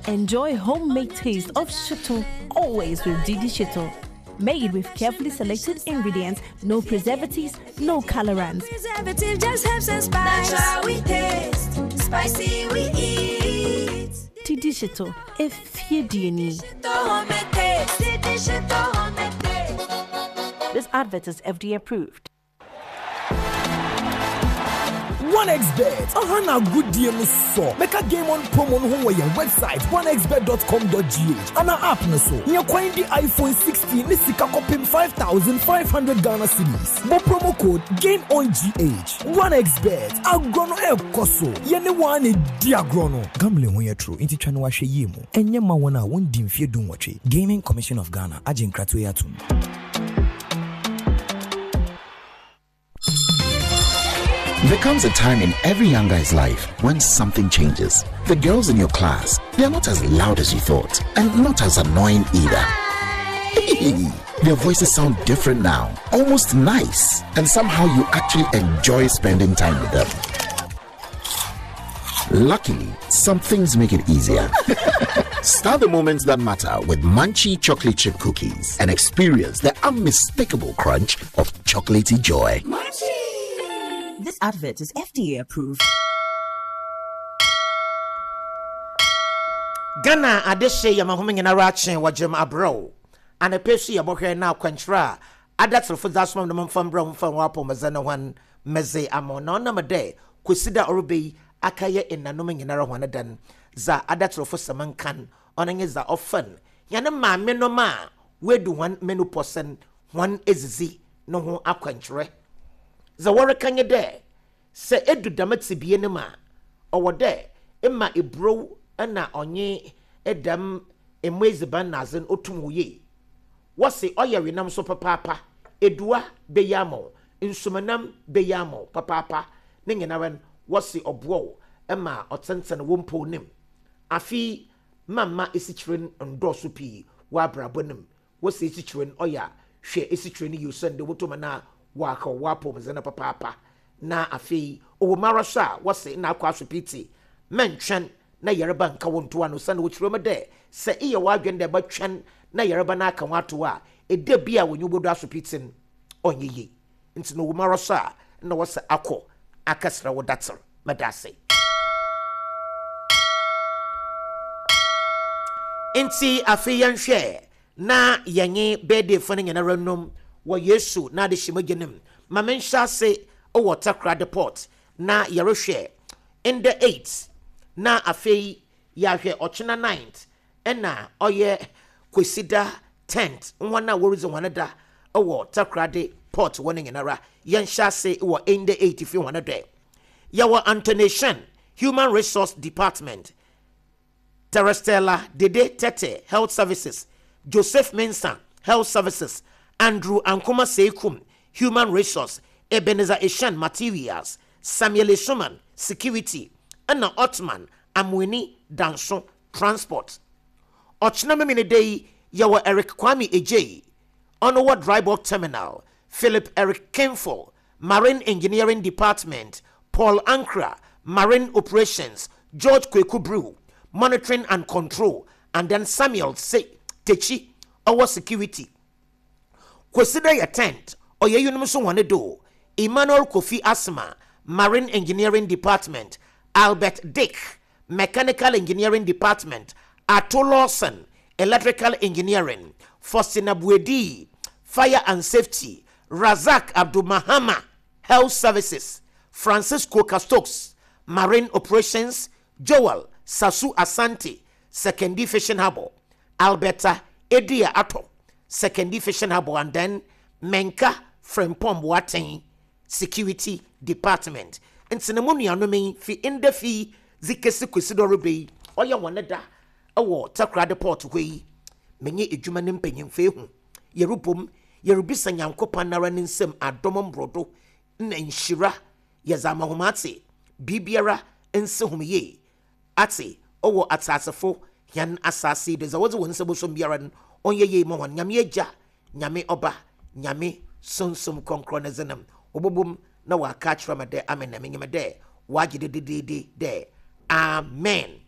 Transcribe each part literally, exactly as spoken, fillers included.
Enjoy homemade taste of shito always with Didi Shito. Made with carefully selected ingredients, no preservatives, no colorants. Preservative just helps and spice. Natural we taste, spicy we eat. Didi Shito, if you Shito homemade taste. Didi Shito homemade taste. This advert is F D A approved. one x bet aha na agodie no so mɛka Game On promo no ho wɔ yɛn website one x bet dot com dot G H ana app no so nyɛ kwan di iPhone sixteen ne sika kɔpem five thousand five hundred Ghana cedis. Bɔ promo code Game On G H. one x bet, agorɔ no ɛrekɔ so, yɛne wɔn a na di agorɔ no. Gambling ho yɛ toro, nti twa no wahwɛ yie mu. Ɛnyɛ ma wɔn a wɔndi mfeɛ dunwɔtwe. Gaming Commission of Ghana agye nkratoɔ yi atom. There comes a time in every young guy's life when something changes. The girls in your class, they are not as loud as you thought, and not as annoying either. Their voices sound different now, almost nice, and somehow you actually enjoy spending time with them. Luckily, some things make it easier. Start the moments that matter with Munchie chocolate chip cookies and experience the unmistakable crunch of chocolatey joy. Munchie! This advert is F D A approved. Ghana adehye yɛ mahome nyinara akye wɔgyem abrɛw anapɛ so yɛbɔhwɛ na akwankyerɛ a adatorofo dze asoma no mfa mbrɛ mfa wɔ apɔmudze no hɔn medze ama na ɔnam dɛ kwesi da ɔreba yi akɛyɛ nnanom nyinara hɔn dan dza adatorofo sɛm nkan ɔno nye dza ɔfan hɛn maame nom a wedu hɔn menopause hɔn edzidzi no ho akwankyerɛ. Dza wɔreka nye dɛ sɛ edu dɛm tebea no mu a, ɔwɔ dɛ ema eburow na ɔnye dɛm emo edziban na adze no otum wo yie. Wɔse ɔyɛ wenam so papaapa, edua bɛyi ama wo, nsumanam bɛyi ama wo papaapa, ne nyinara no wɔse ɔboa wo ma ɔtsentsen wo mpɔw no mu. Afei mamma esikyire no ndɔɔso pii wɔ abrabɔ no mu. Wɔse esikyire no ɔyɛ a hwɛ esikyire no yie osiandɛ wotum na wɔaka wɔ apɔwmudzen no papaapa. Na afei ɔwɔ mu ara so a wɔse na akɔ asopiti mɛntwɛn na yareba nka wo ntoa no, sɛne wɔkyerɛ mu dɛ sɛ eyɛ w'adwene dɛ bɛtwɛn na yareba no aka wo ato a, ɛda bi a wɔnyi wobɛdu asopiti no ɔnyɛ yie. Nti na ɔwɔ mu ara so a na wɔsɛ akɔ akɛsrɛ wo dater. Mɛda ase. Nti afei yɛnhwɛ na yɛnye birthday fo no nyinara nom wɔ Yesu na adehyɛ mogya no mu. Ma menhyɛ ase wɔ Takoradi Port na yɛrehwɛ ndɛ eight na afei yɛahwɛ ɔkyena ninth ɛna ɔyɛ Kwesida tenth, wɔn a wɔredzi wɔn da wɔ Takoradi Port wɔ no nyinara. Yɛnhyɛ ase wɔ ndɛ eight fi wɔn dɛ yɛwɔ Antonation, Human Resource Department, Terestella Dede Tete, Health Services, Joseph Mensah, Health Services, Andrew Ankoma Seikum, Human Resource, Ebenezer Eshan, Materials, Samuel Esuman, Security, ɛna Otman Amweni Danso, Transport. Ɔkyena memene da yi yɛwɔ Eric Kwame Ejei, ɔno wɔ Drybock Terminal, Philip Eric Kenfo, Marine Engineering Department, Paul Ankra, Marine Operations, George Kweku Brew, Monitoring and Control, and then Samuel Se Techi, ɔwɔ Security. Kwesida yɛ tenth, ɔyɛ yinom nso wɔne do Emmanuel Kofi Asma, Marine Engineering Department, Albert Dick, Mechanical Engineering Department, Ato Lawson, Electrical Engineering, Faustina Buedi, Fire and Safety, Razak Abdul Mahama, Health Services, Francisco Castokes, Marine Operations, Joel Sasu Asante, Sekondi Fishing Harbour, Alberta Edia Ato, Sekondi Fishing Harbour, and then Menka Frempong Boateng, Security Department. Nti na mu nuanom yi fi ndɛ fi dze kesi kwesi dɛ ɔreba yi ɔyɛ wɔn da ɛwɔ Takoradi Port hɔ yi, menye edwuma ne mpanyimfo ehu yɛrebom yɛrebisa Nyankopɔn nara ne nsam adom mbrodo na nhyira yɛdze ama hom ate biribiara nsi hom yie ate ɔwɔ atasefo hɛn asase yi do dza wɔdze wɔn nsa bosom biara no ɔnyɛ yie ma wɔn. Nyame Agya, Nyame Ɔba, Nyame Sunsum Kronkron ne dzenam wɔbɔbom na wɔaka akyerɛ me dɛ amen, na menyim dɛ wɔagye dededede dɛ amen.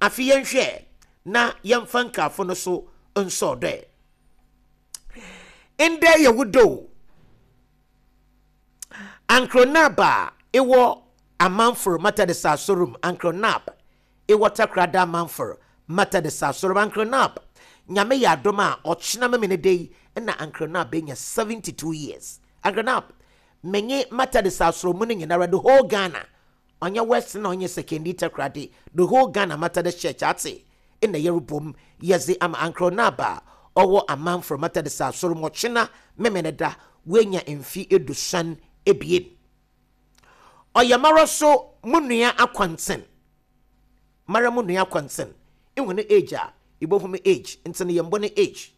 Afei yɛnhwɛ Na yɛmfa nkaafo no so nsɔɔ dɛ. Ndɛ yɛ wo do. Uncle Nab a ɛwɔ Amanforo Methodist Asorum, Uncle Nab ɛwɔ Takoradi Amanforo Methodist Asorum. Uncle Nab, Nyame yɛ adom a ɔkyena memene de yi ɛna Uncle Nab bɛnya seventy-two years. Uncle Nab, menye Methodist Asorum no nyinara, the whole Ghana, ɔnyɛ West na ɔnyɛ Sekondi Takoradi, the whole Ghana Methodist Church ate ɛna yɛrebom yɛdze ama Uncle Nab a ɔwɔ Amanforo Methodist Asorum, ɔkyena memene da wenya mfi edusan ebien. Ɔyɛ mara so mu nua akwanten, mara mu nua akwanten ihu ne age a ibohu me age nti ne yɛmbɔ ne age.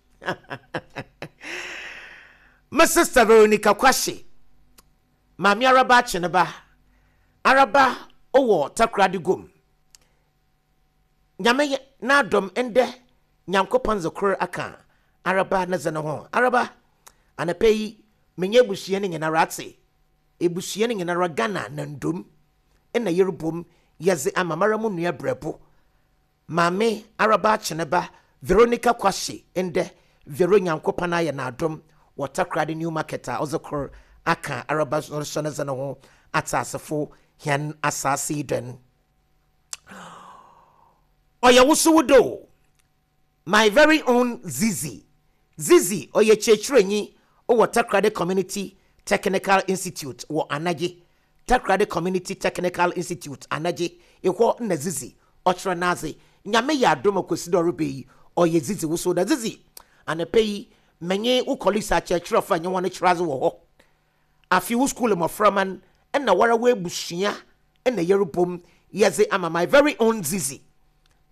My sister Veronica Kwashe, maame araba akye ne ba araba ɔwɔ Takoradi gom. Nyame n'adɔm, ndɛ Nyankopɔn dze kor aka araba ne dze ne ho. Araba, anapa yi menye ebusua no nyinara ate, ebusua no nyinara Ghana na ndom ɛna yɛrebom yɛdze ama mara mu nua brɛbo maame araba akye ne ba Veronica Kwashe. Ndɛ Vero, Nyankopɔn ayɛ n'adom wɔ Takoradi New Market a ɔdze kor aka araba nso ne dze ne ho ate asefo hɛn asase yi dɛn. Ɔyɛ wosowo do, my very own Zizi. Zizi ɔyɛ kyerɛkyerɛnyi wɔ Takoradi Community Technical Institute wɔ Anagye. Takoradi Community Technical Institute Anagye ɛhɔ na Zizi ɔkyerɛ n'adze. Nyame yɛ adom a Kwasi dɛ ɔreba yi, ɔyɛ Zizi wosowo da. Zizi, anapa yi menye wo colleagues akyerɛkyerɛfo a nye wɔn kyerɛ adze wɔ hɔ, afi wo school mmɔframma no ɛna wara w'abusua ɛna yɛrebom yɛdze ama my very own Zizi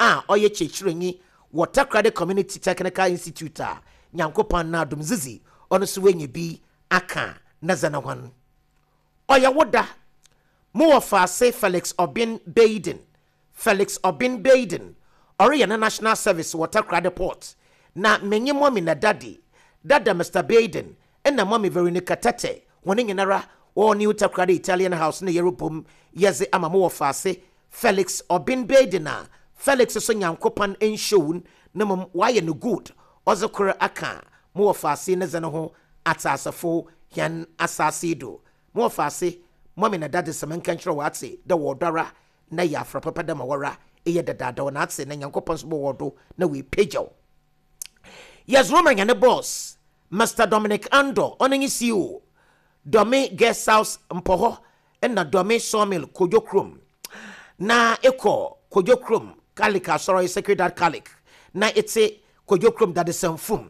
a ɔyɛ kyerɛkyerɛnyi wɔ Takoradi Community Technical Institute a Nyankopɔn n'adom Zizi ɔno nso wanya bi aka ne dze ne ho. Ɔyɛ wo da, mowɔ faase Felix Obin Baden. Felix Obin Baden ɔreyɛ ne national service wɔ Takoradi Port na menye mɔmi na daddy dada Mister Baden ɛna mɔmi Veronica Tete wɔn nyinara wɔwɔ New Takoradi Italian House na yɛrebom yɛdze ama mowɔ faase Felix Obin Baden a Felix so Nyankopɔn nhyɛw na mmom wayɛ no good, ɔdze kor aka mowɔ faase ne dze ne ho atasefo hɛn asase do. Mowɔ faase, mɔmi na daddy, sɛ menka nkyerɛ wɔ ate dɛ wɔ dɔra na yɛ afra papa dɛ ma wɔra ɛyɛ dadaada wɔ n'ate na Nyankopɔn nso bɔwɔ do na wɔapagyaw. Yɛdze roma nyane boss Mister Dominic Andor, ɔno nye C E O Dɔme Guest House Mpɔhɔ ɛna Dɔme Sawmill Kodwo Kurom, na ekɔ Kodwo Kurom Catholic asɔrɔ, Sacred Heart Catholic, na ete Kodwo Kurom Dadesanfum.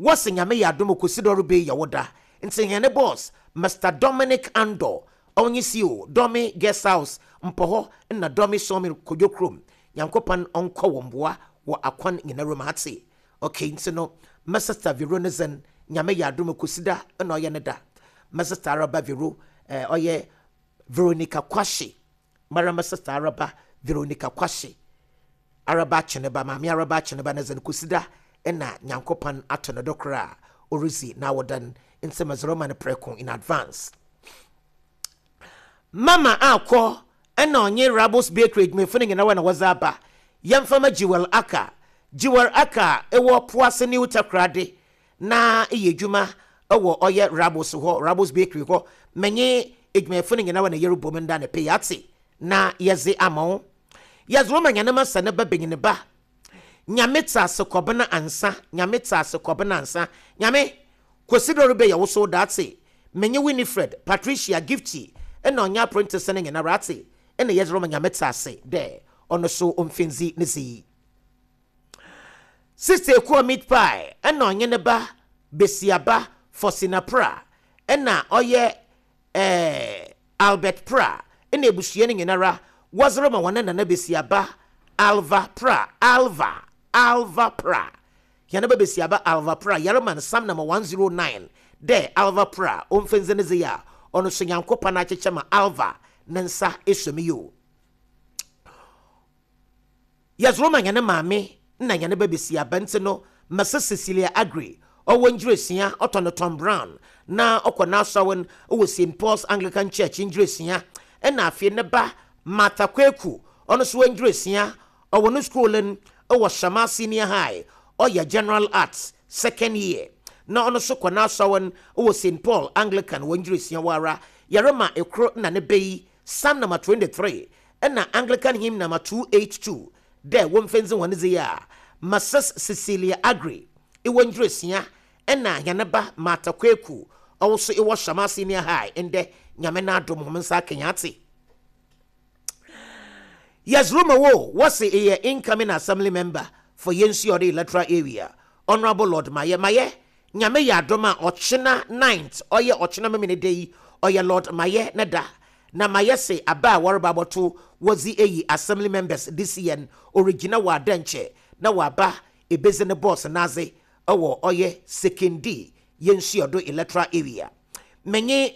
Wɔsi Nyame yɛ adom Kwasi dɛ ɔreba yi yɛ wo da, nti hɛn boss Mister Dominic Andor, ɔnye C E O Dɔme Guest House Mpɔhɔ na Dɔme Sawmill Kodwo Kurom, Nyankopɔn ɔnkɔ wɔn boa wɔ akwan nyinara mu ate. Okay, nti no my sister Vero ne zen, Nyame yɛ adom Kwasi da ɛna ɔyɛ ne da. My sister araba Vero, ɛɛ ɔyɛ Veronica Kwashe, mara my sister araba Veronica Kwashe, araba akyeneba, maame araba akyeneba ne zen, Kwasi da ɛna Nyankopɔn ato ne do koraa ɔresi na awɔdan nti mɛzɔrɔ ma no prɛko in advance. Mama akɔ ɛna ɔnye Rabos Bakery adwumayɛfo no nyinaa wɔ na wɔdze aba. Yɛmfama Jewel Aka. Jewel Aka ɛwɔ Poase New Takoradi na ɛyɛ adwuma ɛwɔ ɔyɛ Rabos hɔ, Rabos Bakery hɔ. Menye adwumayɛfo no nyinaa wɔ na yɛrebɔ mu nda ne pɛ yɛate na yɛdze ama wo. Yɛdze wɔma nyane ma sɛ ne ba benyin ba Nyame te ase kɔbena ansa. Nyame te ase kɔbena ansa. Nyame Kwasi dɛ ɔrebɛyɛ wo so daate, menye Winifred, Patricia, Gifty ɛna ɔnyɛ apprentice no nyinara ate ɛna yɛdze roma Nyame te ase dɛ ɔno so ɔmfindzi ne zi. Sister Ekuo meat pie ɛna ɔnye ne ba besiaba Fosina Pra ɛna ɔyɛ ɛɛ Albert Pra ɛna ebusua no nyinara wɔdze roma wɔn nana besiaba Alva Pra, Alva, Alva Pra. Yɛn ba besiaba Alva Pra, yɛrema no Psalm number one oh nine dɛ Alva Pra ɔmfindzi ne zi a ɔno so Nyankopɔn akyekyɛ ma Alva ne nsa esom yi o. Yɛdze roma nyane maame na nyane ba besiaba nti no Mrs Cecilia Agri ɔwɔ Ngyerɛsua, ɔtɔ no Tom Brown na ɔkɔ n'asɔre wɔ Saint Paul's Anglican Church Ngyerɛsua, ɛna afei ne ba Martha Kweku, ɔno nso wɔ Ngyerɛsua, ɔwɔ no school no Ɛwɔ Shama Senior High, ɔyɛ General Arts second year, na ɔno nso kɔ n'asɔre wɔ Saint Paul Anglican wɔ Ngyirisia wɔ ara. Yɛrema ekoro na ne bɛ yi Psalm number twenty-three ɛna Anglican hymn number two eighty-two dɛ wɔmfɛnzi wɔn dze yi a Missus Cecilia Agri ɛwɔ Ngyirisia, ɛna yɛne ba Martha Kweku, ɔwɔ so ɛwɔ Shama Senior High. Ndɛ Nyame n'adom hom nsa akenya ate. Yes, rumor wo wɔsi ɛyɛ incoming assembly member for Yensuore electoral area, Honourable Lord Maye. Maye, Nyame yɛ adom a, ɔkyena ninth, ɔyɛ ɔkyena memene de yi, ɔyɛ Lord Maye ne da. Na Maye se aba a wɔreba abɔto wɔdzi eyi assembly members this year, origyina wɔ adɛnkyɛ na waba ebezi ne boss n'adze ɛwɔ ɔyɛ Sekondi Yensuodo electoral area. Menye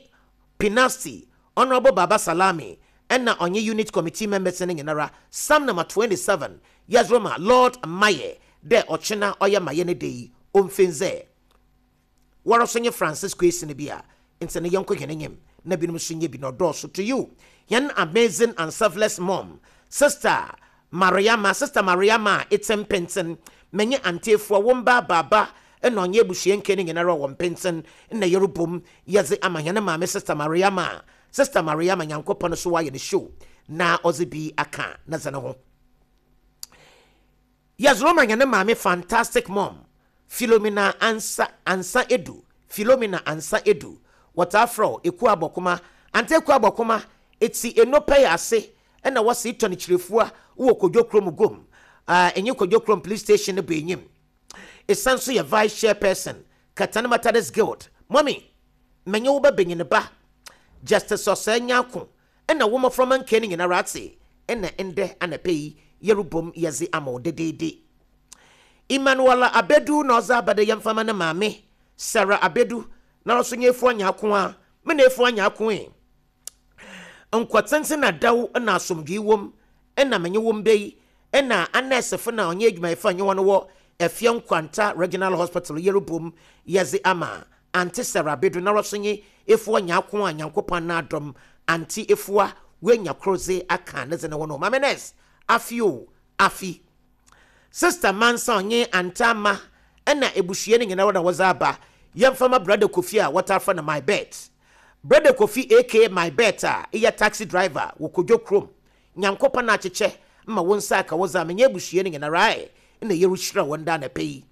Pinasti Honourable Baba Salami ɛna ɔnye unit committee members no nyinara, Psalm number twenty-seven, yɛsroma Lord Maye dɛ ɔkyena ɔyɛ Maye ne de yi ɔmfenzɛ wɔrɔ so nye Francis Kwesi no bi a nti ne yɛnkɔ hɛn enyim na binom nso nye bi na ɔdɔɔso. To you, yɛn amazing and selfless mom, Sister Mariama, Sister Mariama a etse Mpenten, menye antefoɔ wo mba baaba ɛna ɔnyɛ abusua nke no nyinara wɔ Mpenten na yɛrebom yɛdze ama hɛn maame Sister Mariama. Sister Mariama, Nyankopɔn so wayɛ ne show na ɔdze bi aka na dze ne ho. Yɛzoro hɛn maame, fantastic mom, Philomena Ansa, Ansa Edu, Philomena Ansa Edu, wɔtaa frɛ Eku Abɔkoma, Ante Eku Abɔkoma, eti enopɛ yɛ ase ɛna wɔsi tɔ ne kyerɛfua wɔ Kodwo Kurom gom ɛnyɛ Kodwo Kurom police station no bɔ enyim. Esan so yɛ vice chairperson, Katana Methodist Guild. Mɔmi, mɛnyɛ wo ba benyin ba Justice Ɔsɛ Nyako ɛna wɔn mmɔframma nkɛ no nyinara ate, ɛna ndɛ anapɛ yi yɛrebom yɛdze ama wo dedeede. Emmanuel Abedu na ɔdze abɛde yɛmfama ne maame Sarah Abedu, na ɔso nyɛ efu anya ako a me na efu anya ako yi nkɔtenten na daw na asomdwee wom ɛna menye wɔm bɛ yi, ɛna anɛsefo na ɔnyɛ adwumayɛfo a nye wɔn wɔ Efie Nkwanta Regional Hospital, yɛrebom yɛdze ama Ante Sarah Abedu, na ɔso nye efu anya ako a Nyankopɔn n'adɔm ante efua wenya koro dze aka ne dze ne ho no. Maame nurse, afi o afi Sister Mansa, ɔnye Antama ɛna ebusua no nyinaa na wɔdze aba. Yɛmfama Brother Kofi a wɔtaa no My Bet, Brother Kofi aka My Bet a ɛyɛ taxi driver wɔ Kodwo Kurom. Nyankopɔn akyekyɛ ma wo nsa aka wɔdze a menyɛ abusua no nyinaa ɛ ɛna yɛrehyira wɔn da anapɛ yi.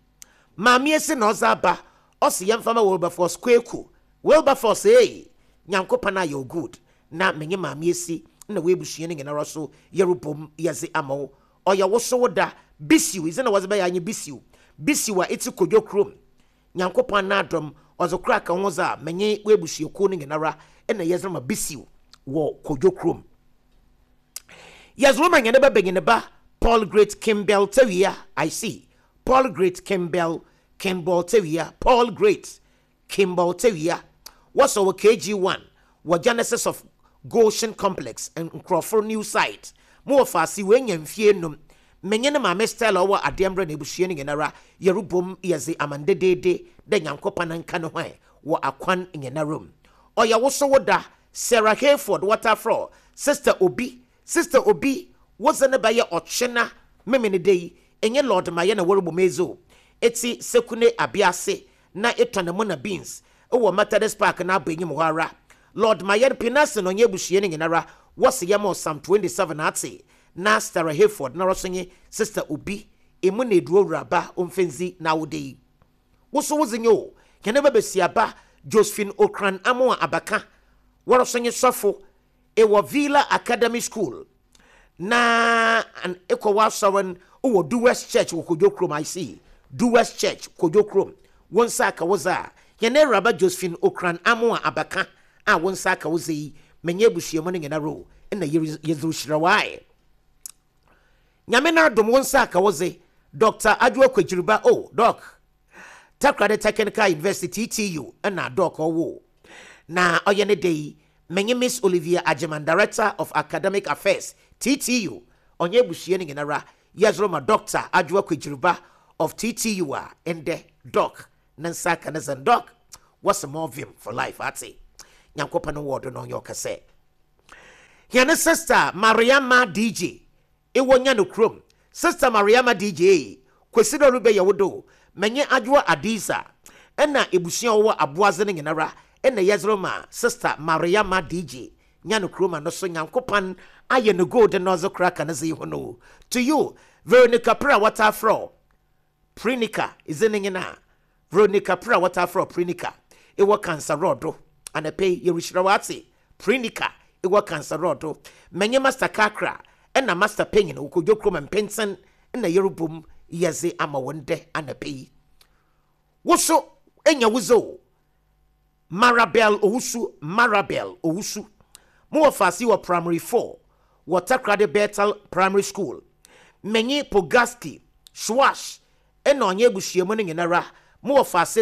Maame esi na ɔdze aba, ɔsi yɛmfama Wilberforce Kweku. Wilberforce ee, Nyankopɔn ayɛ o good, na menye maame esi na wɔabusua no nyinaa so yɛrebom yɛdze ama wo. Ɔyɛ wo so wo da. Bisiw izi na wɔdze bɛyɛ anyi Bisiw, Bisiw a eti Kodwo Kurom, Nyankopɔn n'adɔm ɔdze kora ka ho dze a menye wɔabusuakuo no nyinara ɛna yɛdze ma Bisiw wɔ Kodwo Kurom. Yɛdze ma nyɛ ne ba benyin ba Paul Great Kimbell Tewia. I see Paul Great Kimbell, Kimball Tewia, Paul Great Kimball Tewia, wɔsɔ wɔ K G one wɔ Genesis of Goshen Complex, Nkurɔfo new site mo wɔ faase. Wɔanya mfie num. Menye ne maame Stella ɔwɔ adeɛ mmerɛ na ebusua no nyinara yɛrebom yɛdze amandedeede dɛ Nyankopɔn nka ne ho wɔ akwan nyinara mu. Ɔyɛ wo so wo da. Sarah Hayford, wɔtafrɔ Sister Obi, Sister Obi, wodze ne bɛyɛ ɔkyena memene de yi, ɛnyɛ Lord Mayɛ na wɔrebɔ mezo eti Sekune Abiase na etɔ ne mo na beans ɛwɔ Methodist Park na abɔ enyim hɔ ara. Lord Mayɛ Pinase na ɔnyɛ abusua no nyinara wɔsi yɛ ma Psalm twenty-seven ate na Sarah Hayford na ɔso nye Sister Obi emu na eduro wuraba omfenzi na awode yi woso wodze nye o hɛn bɛbɛsi aba Josephine Okran Amoa Abaka, wɔrɔso nye sɔfo ɛwɔ Villa Academy School na ɛkɔ wɔ asɔre wɔ Duwest Church wɔ Kodwo Kurom. I see Duwest Church, Kodwo Kurom. Wɔn nsa aka wodze a hɛn awuraba Josephine Okran Amoa Abaka a wɔn nsa aka wodze yi, menye abusuamu no nyinara o ɛna yɛdze hyira wae. Nyame no adom wo nsa aka wodze. Doctor Adwoa Kwagyiriba o Doc, Takoradi Technical University, T T U, ɛna Doc ɔwo na ɔyɛ ne de yi, menye Miss Olivia Agyeman, Director of Academic Affairs, T T U, ɔnyɛ abusua no nyinara yɛzoro ma Doctor Adwoa Kwagyiriba of T T U a ɛndɛ Doc ne nsa aka ne sɛn. Doc, wɔsɛ more vim for life ate. Nyankopɔn no wɔɔdo no ɔnyɛ ɔkɛsɛ. Yɛne Sister Mariama D J ɛwɔ nya no kurom. Sister Mariama D J Kwesi dɛ ɔrebɛyɛ wo do, menye Adwoa Adiza ɛna ebusua a wɔwɔ Aboadze no nyinara ɛna yɛdze ma Sister Mariama D J nya no kuroma no so. Nyankopɔn ayɛ no gold na ɔdze kora ka ne dze yi ho no. To you, Veronica Pra, wɔtaa frɛ Prinika ɛdze ne nyinaa, Veronica Pra, wɔtaa frɛ Prinika, ɛwɔ Kansarɔdo anapɛ yi, yɛrehyira wɔ Prinika ɛwɔ Kansarɔdo. Menye Master Kakra ɛna Master Panyin Wokɔdwo kurom mpenten ɛna yɛrebom yɛdze ama wɔn dɛ anapɛ yi. Woso enya wuzo Marabel Owusu, Marabel Owusu, mowɔ faase wɔ primary four wɔ Takoradi Bethel Primary School. Menye Pogaski Schwash ɛna ɔnyɛ abusuamu no nyinara mowɔ faase.